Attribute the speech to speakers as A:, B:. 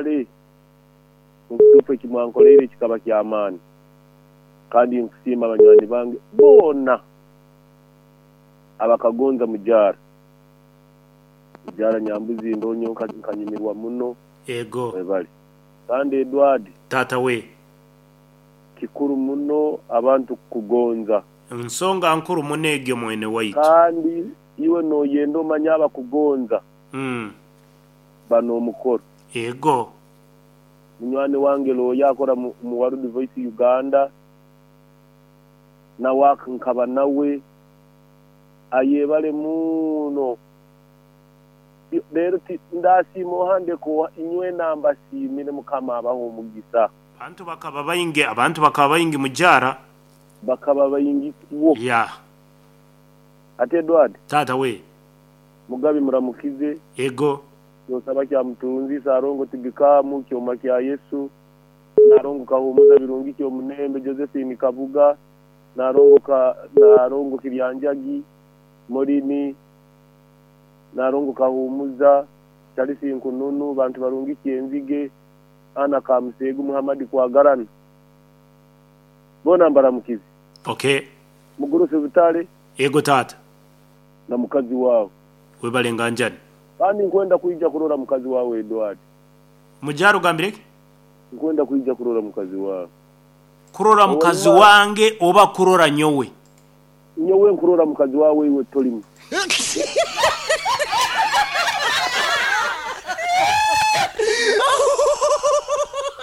A: Mwebale omubutuufu eki mwankoleire kikaba ky'amaani kandi nkusiima banywani bange boona abakagonza Mujaara. Mujaara Nyambuzi ndoho nyowe nkanyumirwa muno.
B: Ego.
A: Mwebale. Kandi Edward.
B: Taata we.
A: Kikuru muno abantu kukugonza.
B: Nsonga nkuru muno egyo mwene waitu.
A: Kandi iwe noyenda omanye abakugonza. Ba n'omukoro.
B: Ego.
A: Munywani wange looya akora mu World Voice Uganda nawe nkaba nawe ayebale muno. Reero ndasiima oha ndeke oha inywena mbasiimire Mukama abahe omugisa.
B: Abantu bakaba baingi, abantu bakaba baingi mujaara.
A: Bakaba baingi kwo.
B: Yeah.
A: Ati Edward.
B: Taata we.
A: Mugabi muramukize.
B: Ego.
A: Kyosaba kya Mutunzi, Sarongo Tigikamu, Kyoma kya Yesu, Narongo Kahumuza Birungi Kyomunembe, Josephine Kabuga, Narongo ka Narongo Kiryanjagi, Morini, Narongo Kahumuza, Charles Nkununu, Bantu Barungi Kyenzige, Anna Kamuseegu, Muhammad Kwagarana. Boona mbaramukize.
B: Okay.
A: Mugurusi Butare.
B: Ego taata.
A: Na mukazi waawe.
B: Webale nganjani.
A: Kandi nkwenda kwija kurora mukazi waawe Edward.
B: Mujaara ogambire ki?
A: Nkwenda kwija kurora mukazi waawe.
B: Kurora mukazi wange oba kurora nyowe?
A: Nyowe nkurora mukazi waawe iwe tolimu.